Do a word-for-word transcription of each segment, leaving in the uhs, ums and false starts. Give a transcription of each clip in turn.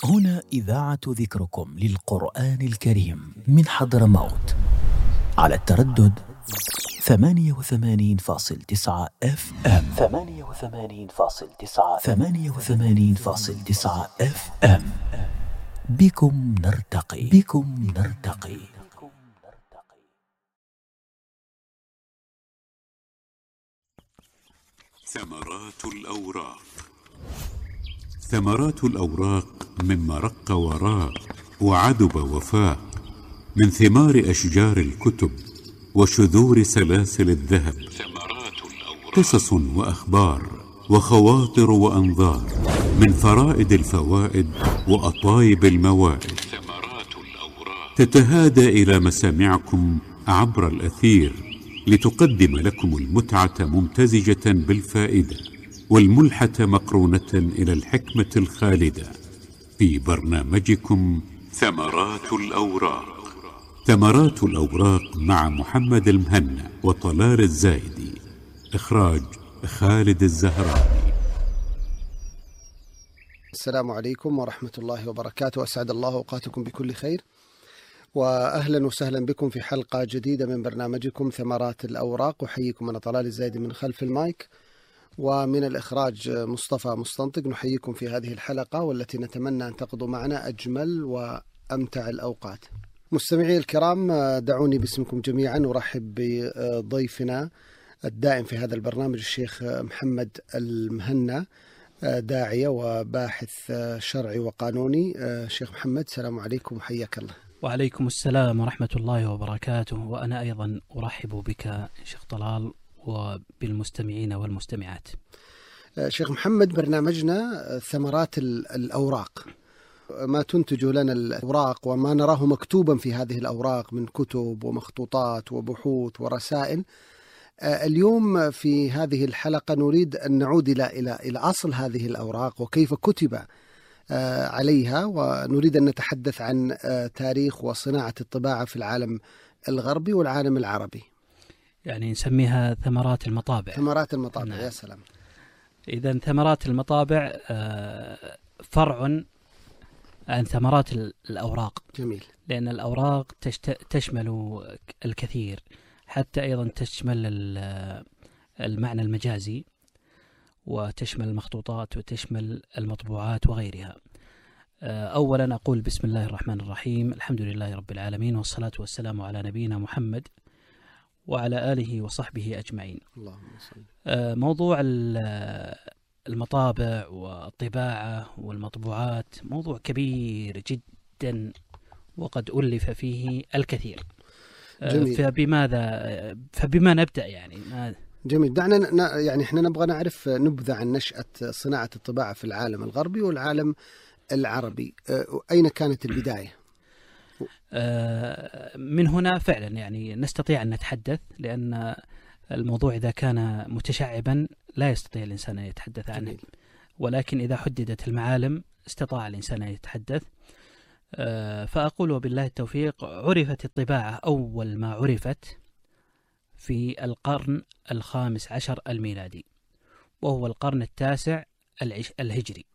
هنا إذاعة ذكركم للقرآن الكريم من حضرموت على التردد ثمانية وثمانين فاصل تسعة اف ام ثمانية وثمانين فاصل تسعة ثمانية وثمانين فاصل تسعة اف ام. بكم نرتقي بكم نرتقي. ثمرات الأوراق. ثمرات الأوراق مما رق وراق وعذب وفاق، من ثمار أشجار الكتب وشذور سلاسل الذهب. قصص وأخبار وخواطر وأنظار، من فرائد الفوائد وأطايب الموائد، تتهادى إلى مسامعكم عبر الأثير لتقدم لكم المتعة ممتزجة بالفائدة، والملحة مقرونة إلى الحكمة الخالدة، في برنامجكم ثمرات الأوراق. ثمرات الأوراق مع محمد المهنا وطلال الزايدي. إخراج خالد الزهراني. السلام عليكم ورحمة الله وبركاته، أسعد الله أوقاتكم بكل خير، وأهلا وسهلا بكم في حلقة جديدة من برنامجكم ثمرات الأوراق. أحييكم أنا طلال الزايدي من خلف المايك، ومن الإخراج مصطفى مستنطق. نحييكم في هذه الحلقة والتي نتمنى أن تقضوا معنا أجمل وأمتع الأوقات. مستمعي الكرام، دعوني باسمكم جميعا أرحب بضيفنا الدائم في هذا البرنامج الشيخ محمد المهنا، داعية وباحث شرعي وقانوني. شيخ محمد، السلام عليكم وحياك الله. وعليكم السلام ورحمة الله وبركاته، وأنا أيضا أرحب بك شيخ طلال وبالمستمعين والمستمعات. شيخ محمد، برنامجنا ثمرات الأوراق، ما تنتج لنا الأوراق وما نراه مكتوبا في هذه الأوراق من كتب ومخطوطات وبحوث ورسائل. اليوم في هذه الحلقة نريد أن نعود إلى إلى إلى أصل هذه الأوراق وكيف كتب عليها، ونريد أن نتحدث عن تاريخ وصناعة الطباعة في العالم الغربي والعالم العربي. يعني نسميها ثمرات المطابع. ثمرات المطابع. نعم. يا سلام. إذن ثمرات المطابع فرع عن ثمرات الأوراق. جميل. لأن الأوراق تشمل الكثير، حتى أيضا تشمل المعنى المجازي، وتشمل المخطوطات وتشمل المطبوعات وغيرها. أولا أقول بسم الله الرحمن الرحيم، الحمد لله رب العالمين، والصلاة والسلام على نبينا محمد وعلى آله وصحبه أجمعين. اللهم صل. موضوع المطابع والطباعة والمطبوعات موضوع كبير جدا، وقد ألف فيه الكثير. جميل. فبماذا فبما نبدأ يعني؟ جميل. دعنا يعني احنا نبغى نعرف نبذة عن نشأة صناعة الطباعة في العالم الغربي والعالم العربي. أين كانت البداية؟ من هنا فعلا يعني نستطيع أن نتحدث، لأن الموضوع إذا كان متشعبا لا يستطيع الإنسان أن يتحدث عنه. جميل. ولكن إذا حددت المعالم استطاع الإنسان أن يتحدث. فأقول وبالله التوفيق، عرفت الطباعة أول ما عرفت في القرن الخامس عشر الميلادي، وهو القرن التاسع الهجري،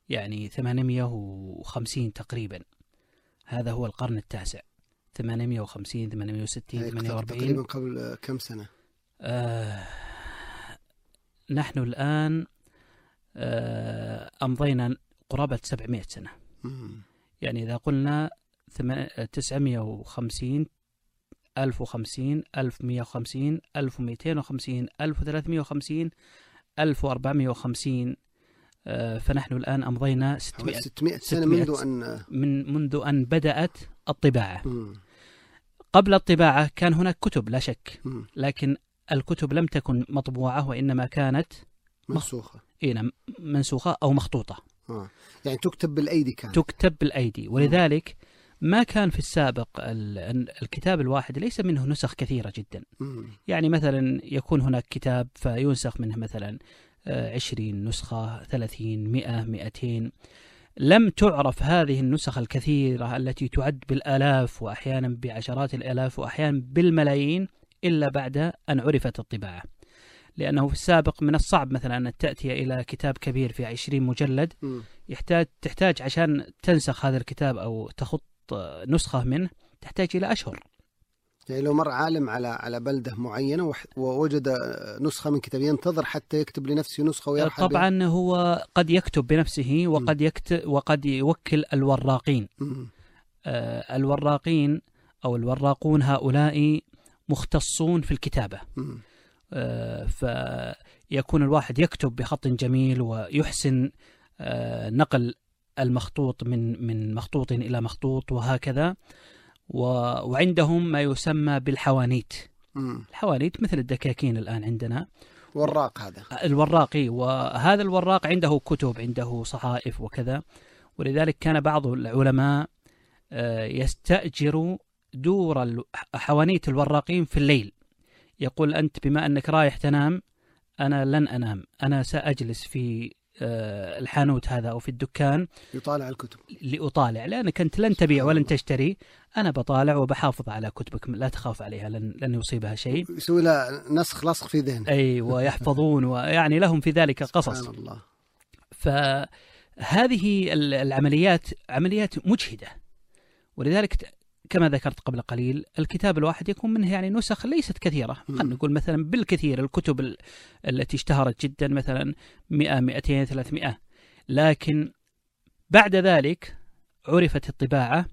يعني ثمانمائة وخمسين تقريبا. هذا هو القرن التاسع، ثمانمائة وخمسين ثمانمائة وستين ثمانية وأربعين. تقريبا قبل كم سنة؟ آه نحن الآن آه أمضينا قرابة سبعمائة سنة. مم. يعني إذا قلنا تسعمائة وخمسين، ألف وخمسين، ألف ومائة وخمسين، ألف ومئتين وخمسين، ألف وثلاثمائة وخمسين، ألف وأربعمائة وخمسين، فنحن الآن أمضينا ستمائة, ستمائة سنة منذ أن من منذ أن بدأت الطباعة. م. قبل الطباعة كان هناك كتب لا شك، م. لكن الكتب لم تكن مطبوعة، وإنما كانت منسوخة. إيه منسوخة أو مخطوطة. آه. يعني تكتب بالأيدي كانت. تكتب بالأيدي، ولذلك ما كان في السابق الكتاب الواحد ليس منه نسخ كثيرة جدا. م. يعني مثلا يكون هناك كتاب فينسخ منه مثلا عشرين نسخة، ثلاثين، مئة، مئتين. لم تعرف هذه النسخ الكثيرة التي تعد بالآلاف وأحيانا بعشرات الآلاف وأحيانا بالملايين إلا بعد أن عرفت الطباعة. لأنه في السابق من الصعب مثلا أن تأتي إلى كتاب كبير في عشرين مجلد، م. يحتاج تحتاج عشان تنسخ هذا الكتاب أو تخط نسخة منه تحتاج إلى أشهر. يعني لو مر عالم على على بلدة معينة ووجد نسخة من كتاب ينتظر حتى يكتب لنفسه نسخة ويرحل طبعا بها. هو قد يكتب بنفسه وقد يكتب وقد يوكل الوراقين. آه الوراقين أو الوراقون هؤلاء مختصون في الكتابة. آه فيكون الواحد يكتب بخط جميل ويحسن آه نقل المخطوط من من مخطوط إلى مخطوط وهكذا. وعندهم ما يسمى بالحوانيت. مم. الحوانيت مثل الدكاكين الآن عندنا. وراق هذا الوراقي، وهذا الوراق عنده كتب، عنده صحائف وكذا. ولذلك كان بعض العلماء يستأجر دور حوانيت الوراقين في الليل. يقول أنت بما أنك رايح تنام أنا لن أنام، أنا سأجلس في الحانوت هذا أو في الدكان يطالع الكتب لأطالع، لأنك أنت لن تبيع ولن تشتري، أنا بطالع وبحافظ على كتبك لا تخاف عليها، لن, لن يصيبها شيء. يسوي له نسخ لصق في ذهنه. أي ويحفظون ويعني لهم في ذلك قصص. سبحان الله. فهذه العمليات عمليات مجهدة، ولذلك كما ذكرت قبل قليل الكتاب الواحد يكون منه يعني نسخ ليست كثيرة. خلينا نقول مثلا بالكثير الكتب التي اشتهرت جدا مثلا مئة مئتين ثلاثمئة، لكن بعد ذلك عرفت الطباعة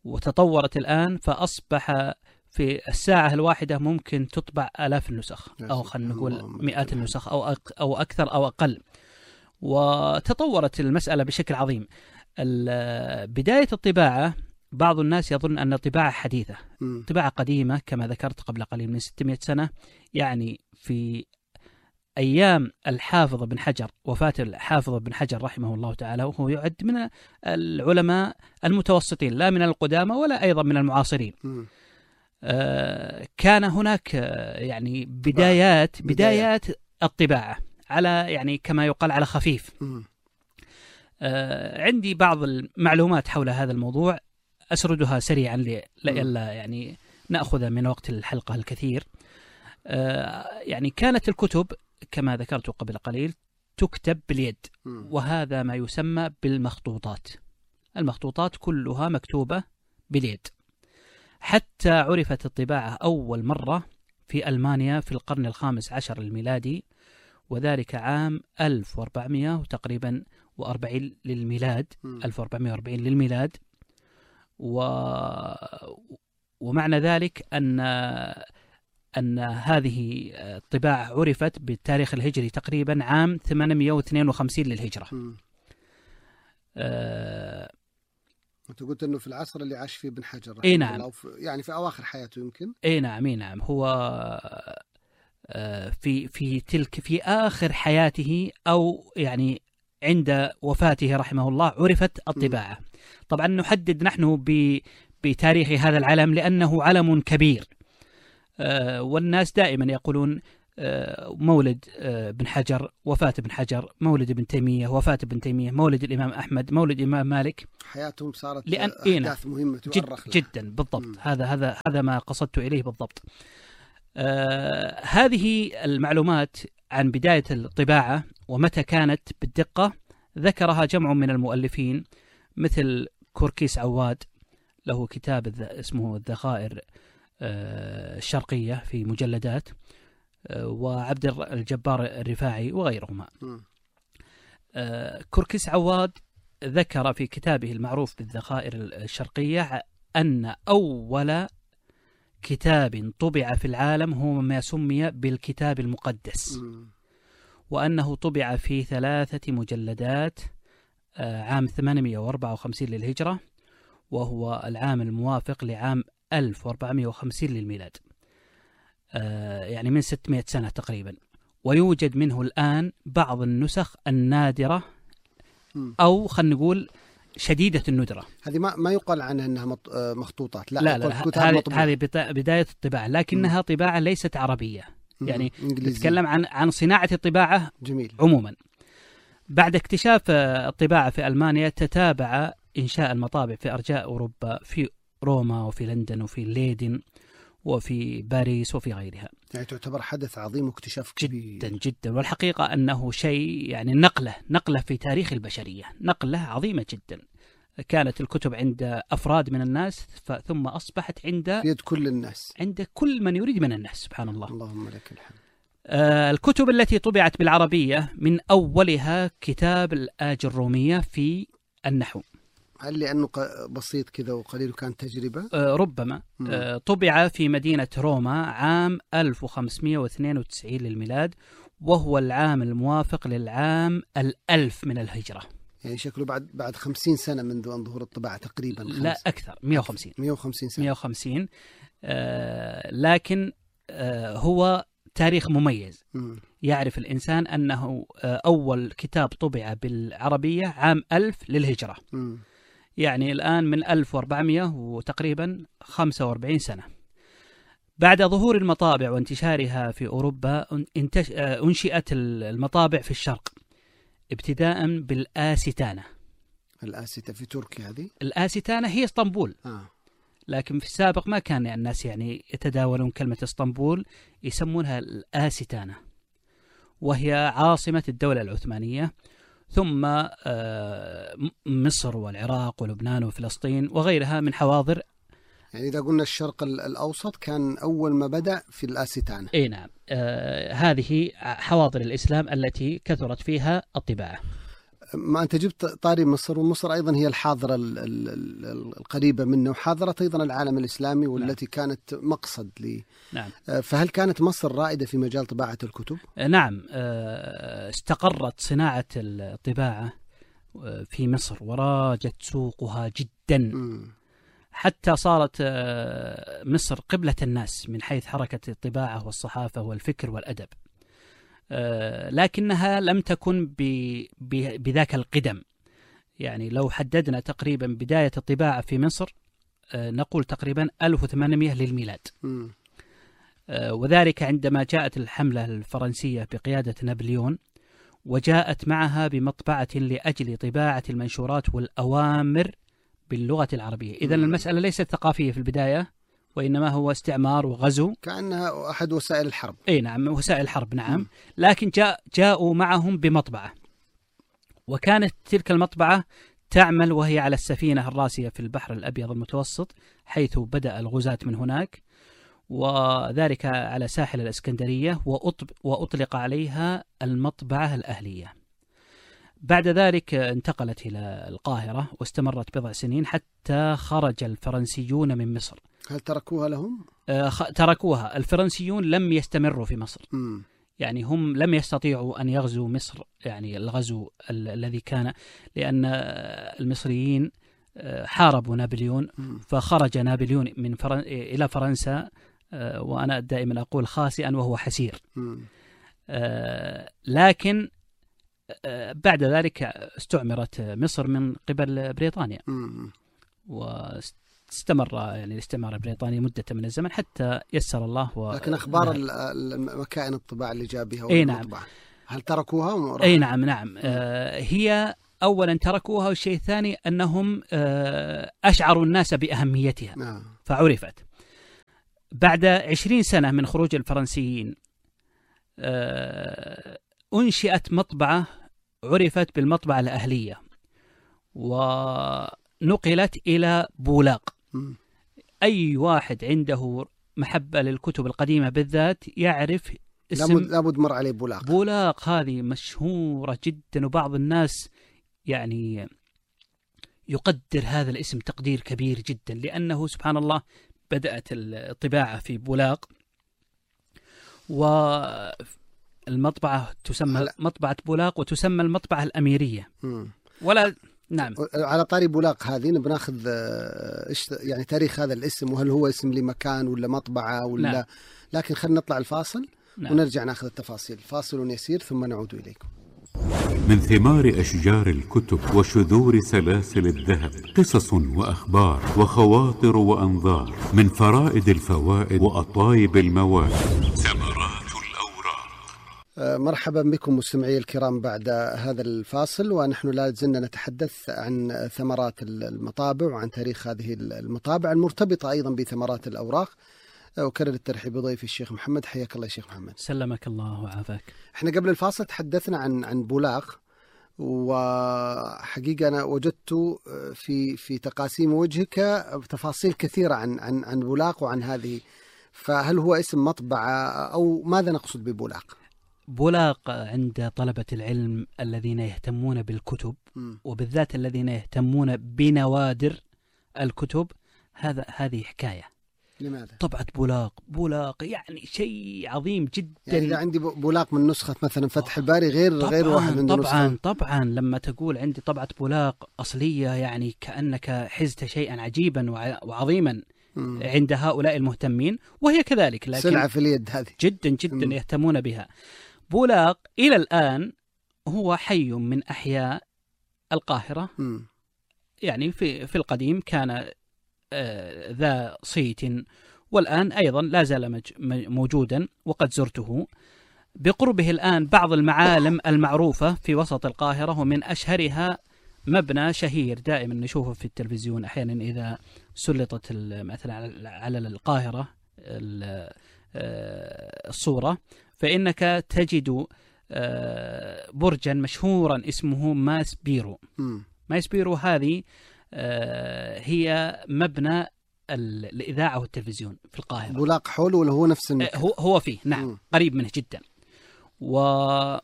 وتطورت الآن، فأصبح في الساعة الواحدة ممكن تطبع آلاف النسخ أو خلينا نقول مئات النسخ أو أو أكثر أو أقل. وتطورت المسألة بشكل عظيم. بداية الطباعة بعض الناس يظن أن الطباعة حديثة، طباعة قديمة كما ذكرت قبل قليل من ستمائة سنة. يعني في أيام الحافظ بن حجر، وفاة الحافظ بن حجر رحمه الله تعالى، وهو يعد من العلماء المتوسطين لا من القدامى ولا أيضا من المعاصرين. آه كان هناك يعني بدايات بدايات الطباعة على يعني كما يقال على خفيف. آه عندي بعض المعلومات حول هذا الموضوع أسردها سريعا لئلا يعني نأخذ من وقت الحلقة الكثير. آه يعني كانت الكتب كما ذكرت قبل قليل تكتب باليد، وهذا ما يسمى بالمخطوطات. المخطوطات كلها مكتوبة باليد، حتى عرفت الطباعة أول مرة في ألمانيا في القرن الخامس عشر الميلادي، وذلك عام ألف وأربعمائة تقريبا وأربعين للميلاد. ألف وأربعمائة وأربعين للميلاد. و... ومعنى ذلك أن أن هذه الطباعة عرفت بالتاريخ الهجري تقريبا عام ثمانمائة واثنين وخمسين للهجرة. أه... أنت قلت أنه في العصر اللي عاش فيه ابن حجر إيه نعم، أو في... يعني في أواخر حياته يمكن. إيه نعم إيه نعم هو في في تلك في آخر حياته أو يعني عند وفاته رحمه الله عرفت الطباعة. م. طبعا نحدد نحن بتاريخ هذا العلم لأنه علم كبير، آه والناس دائما يقولون آه مولد آه ابن حجر، وفاة ابن حجر، مولد ابن تيمية، وفاة ابن تيمية، مولد الإمام أحمد، مولد الإمام مالك. حياتهم صارت لأن أحداث مهمة جد جدا بالضبط. م. هذا هذا هذا ما قصدت إليه بالضبط. آه هذه المعلومات عن بداية الطباعة ومتى كانت بالدقة ذكرها جمع من المؤلفين مثل كوركيس عواد، له كتاب اسمه الذخائر الشرقية في مجلدات، وعبد الجبار الرفاعي وغيرهما. كوركيس عواد ذكر في كتابه المعروف بالذخائر الشرقية أن أول كتاب طبع في العالم هو ما سمي بالكتاب المقدس، وأنه طبع في ثلاثة مجلدات عام ثمانمائة وأربعة وخمسين للهجرة، وهو العام الموافق لعام ألف وأربعمائة وخمسين للميلاد، يعني من ستمائة سنة تقريبا. ويوجد منه الآن بعض النسخ النادرة أو خلينا نقول شديدة الندرة. هذه ما ما يقال عنها أنها مخطوطات، لا, لا, لا هذه هذه بداية الطباعة، لكنها م. طباعة ليست عربية، يعني نتكلم عن عن صناعة الطباعة جميل. عموما. بعد اكتشاف الطباعة في ألمانيا تتابع إنشاء المطابع في أرجاء أوروبا، في روما وفي لندن وفي ليدن وفي باريس وفي غيرها. يعني تعتبر حدث عظيم واكتشاف كبير جدا جدا، والحقيقة أنه شيء يعني نقلة نقلة في تاريخ البشرية، نقلة عظيمة جدا. كانت الكتب عند أفراد من الناس ثم أصبحت عند في يد كل الناس، عند كل من يريد من الناس، سبحان الله. اللهم لك الحمد. آه الكتب التي طبعت بالعربية من أولها كتاب الآج الرومية في النحو. هل لأنه بسيط كذا وقليل كانت تجربة؟ آه ربما. آه طبع في مدينة روما عام ألف وخمسمائة واثنين وتسعين للميلاد، وهو العام الموافق للعام الألف من الهجرة. يعني شكله بعد بعد خمسين سنة منذ أن ظهور الطباعة تقريبا. لا أكثر، مئة وخمسين مئة وخمسين سنة. مئة وخمسين. آه لكن آه هو تاريخ مميز. م. يعرف الإنسان أنه آه أول كتاب طبع بالعربية عام ألف للهجرة. م. يعني الآن من ألف وأربعمائة وتقريبا خمسة وأربعين سنة. بعد ظهور المطابع وانتشارها في أوروبا انتش... آه أنشئت المطابع في الشرق، ابتداء بالآستانة. الآستة في تركيا هذه؟ الآستانة هي اسطنبول. آه. لكن في السابق ما كان الناس يعني يتداولون كلمة اسطنبول، يسمونها الآستانة، وهي عاصمة الدولة العثمانية، ثم مصر والعراق ولبنان وفلسطين وغيرها من حواضر. يعني إذا قلنا الشرق الأوسط كان أول ما بدأ في الآستانة. أي نعم. آه هذه حواضر الإسلام التي كثرت فيها الطباعة. ما أنت جبت طاري مصر، ومصر أيضا هي الحاضرة القريبة منه، وحاضرة أيضا العالم الإسلامي، والتي نعم. كانت مقصد لي. نعم. فهل كانت مصر رائدة في مجال طباعة الكتب؟ نعم. استقرت صناعة الطباعة في مصر وراجت سوقها جدا، م. حتى صارت مصر قبلة الناس من حيث حركة الطباعة والصحافة والفكر والأدب. لكنها لم تكن بذاك القدم. يعني لو حددنا تقريبا بداية الطباعة في مصر نقول تقريبا ألف وثمانمائة للميلاد، م. وذلك عندما جاءت الحملة الفرنسية بقيادة نابليون، وجاءت معها بمطبعة لأجل طباعة المنشورات والأوامر باللغة العربية. إذن المسألة ليست ثقافية في البداية، وإنما هو استعمار وغزو، كأنها أحد وسائل الحرب. أي نعم، وسائل الحرب. نعم. م. لكن جاء جاءوا معهم بمطبعة، وكانت تلك المطبعة تعمل وهي على السفينة الراسية في البحر الأبيض المتوسط، حيث بدأ الغزاة من هناك، وذلك على ساحل الإسكندرية، وأطلق عليها المطبعة الأهلية. بعد ذلك انتقلت إلى القاهرة واستمرت بضع سنين حتى خرج الفرنسيون من مصر. هل تركوها لهم؟ آه تركوها. الفرنسيون لم يستمروا في مصر. م. يعني هم لم يستطيعوا أن يغزوا مصر، يعني الغزو ال- الذي كان، لأن المصريين حاربوا نابليون، م. فخرج نابليون من فرن... إلى فرنسا، آه وأنا دائما أقول خاسئا وهو حسير. آه لكن بعد ذلك استعمرت مصر من قبل بريطانيا، م. واستمر يعني الاستعمار البريطاني مدة من الزمن حتى يسر الله. و... لكن أخبار المكائن الطباعة اللي جاء بها أي نعم. هل تركوها؟ أي نعم نعم. آه هي أولا تركوها، والشيء الثاني أنهم آه أشعروا الناس بأهميتها، نعم. فعرفت. بعد عشرين سنة من خروج الفرنسيين آه أنشئت مطبعة عرفت بالمطبعة الأهلية، ونقلت إلى بولاق. م. أي واحد عنده محبة للكتب القديمة بالذات يعرف اسم لابد مر عليه بولاق. بولاق هذه مشهورة جدا، وبعض الناس يعني يقدر هذا الاسم تقدير كبير جدا، لأنه سبحان الله بدأت الطباعة في بولاق، والمطبعة تسمى هل... مطبعة بولاق، وتسمى المطبعة الأميرية. م. ولا نعم. على طاري بولاق هذه بناخذ يعني تاريخ هذا الاسم، وهل هو اسم لمكان ولا مطبعة ولا نعم. لكن خلينا نطلع الفاصل، نعم. ونرجع ناخذ التفاصيل. فاصل يسير ثم نعود إليكم. من ثمار أشجار الكتب وشذور سلاسل الذهب قصص وأخبار وخواطر وأنظار، من فرائد الفوائد وأطايب المواد ثمرات الأوراق. مرحبا بكم مستمعي الكرام بعد هذا الفاصل، ونحن لا زلنا نتحدث عن ثمرات المطابع وعن تاريخ هذه المطابع المرتبطة أيضا بثمرات الأوراق. أكرر الترحيب بضيفي الشيخ محمد. حياك الله يا شيخ محمد. سلمك الله وعافاك. احنا قبل الفاصل تحدثنا عن عن بولاق، وحقيقة أنا وجدت في في تقاسيم وجهك تفاصيل كثيرة عن عن عن بولاق وعن هذه، فهل هو اسم مطبعة أو ماذا نقصد ببولاق؟ بولاق عند طلبة العلم الذين يهتمون بالكتب م. وبالذات الذين يهتمون بنوادر الكتب، هذا هذه حكاية. لماذا؟ طبعة بولاق بولاق يعني شيء عظيم جدا. يعني إذا عندي بولاق من نسخة مثلا فتح الباري غير طبعاً غير واحد من طبعا نسخة. طبعا لما تقول عندي طبعة بولاق أصلية يعني كأنك حزت شيئا عجيبا وعظيما م. عند هؤلاء المهتمين، وهي كذلك، لكن سلعة في اليد هذه جدا جدا م. يهتمون بها. بولاق إلى الآن هو حي من أحياء القاهرة م. يعني في في القديم كان آه ذا صيت، والآن أيضا لا زال موجودا وقد زرته. بقربه الآن بعض المعالم المعروفة في وسط القاهرة، ومن أشهرها مبنى شهير دائما نشوفه في التلفزيون أحيانا إذا سلطت مثلا على القاهرة الصورة، فإنك تجد برجا مشهورا اسمه ماس بيرو. م. ماس بيرو هذه هي مبنى الإذاعة والتلفزيون في القاهرة. بولاق حول ولا هو نفس المكان؟ هو هو فيه نعم م. قريب منه جدا. وفي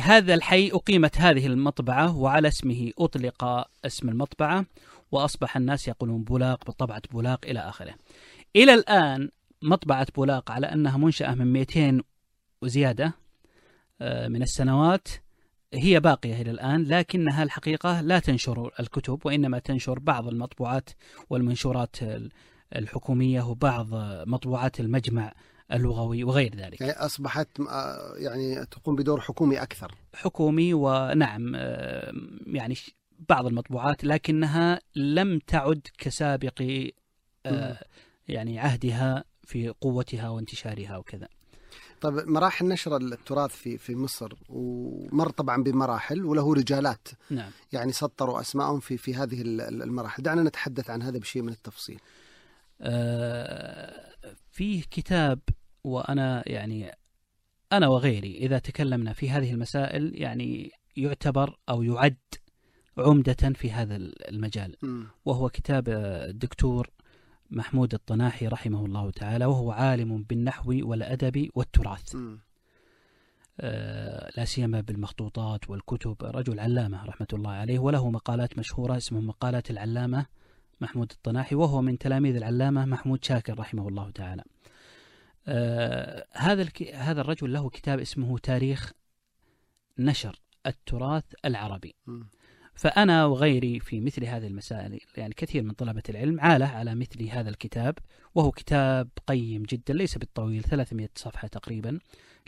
هذا الحي أقيمت هذه المطبعة، وعلى اسمه أطلق اسم المطبعة، وأصبح الناس يقولون بولاق بطبعة بولاق إلى آخره. إلى الآن مطبعة بولاق على أنها منشأة من مئتين وزيادة من السنوات هي باقية إلى الآن، لكنها الحقيقة لا تنشر الكتب، وإنما تنشر بعض المطبوعات والمنشورات الحكومية وبعض مطبوعات المجمع اللغوي وغير ذلك. يعني أصبحت يعني تقوم بدور حكومي أكثر. حكومي، ونعم يعني بعض المطبوعات، لكنها لم تعد كسابق يعني عهدها في قوتها وانتشارها وكذا. طيب مراحل نشر التراث في في مصر ومر طبعا بمراحل وله رجالات نعم. يعني سطروا أسماءهم في في هذه المراحل، دعنا نتحدث عن هذا بشيء من التفصيل. آه فيه كتاب، وأنا يعني أنا وغيري إذا تكلمنا في هذه المسائل يعني يعتبر أو يعد عمدة في هذا المجال، م. وهو كتاب الدكتور محمود الطناحي رحمه الله تعالى، وهو عالم بالنحو والأدب والتراث آه لا سيما بالمخطوطات والكتب، رجل علامة رحمة الله عليه، وله مقالات مشهورة اسمها مقالات العلامة محمود الطناحي، وهو من تلاميذ العلامة محمود شاكر رحمه الله تعالى. آه هذا هذا الرجل له كتاب اسمه تاريخ نشر التراث العربي. م. فأنا وغيري في مثل هذه المسائل يعني كثير من طلبة العلم عاله على مثل هذا الكتاب، وهو كتاب قيم جدا، ليس بالطويل، ثلاثمائة صفحة تقريبا،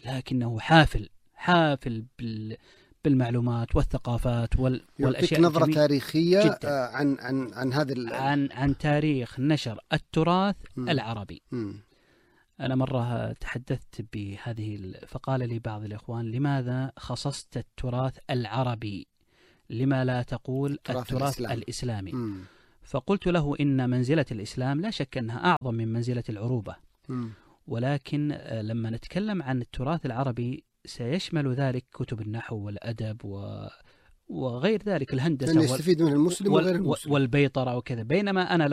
لكنه حافل حافل بال بالمعلومات والثقافات وال... والأشياء نظرة تاريخية جداً. عن عن عن هذا ال... عن عن تاريخ نشر التراث م. العربي. م. أنا مرة تحدثت بهذه فقال لي بعض الإخوان: لماذا خصصت التراث العربي؟ لما لا تقول التراث, التراث الإسلام. الإسلامي؟ م. فقلت له إن منزلة الإسلام لا شك أنها أعظم من منزلة العروبة، م. ولكن لما نتكلم عن التراث العربي سيشمل ذلك كتب النحو والأدب و... وغير ذلك، الهندسة يستفيد من المسلم وغير المسلم والبيطرة وكذا، بينما أنا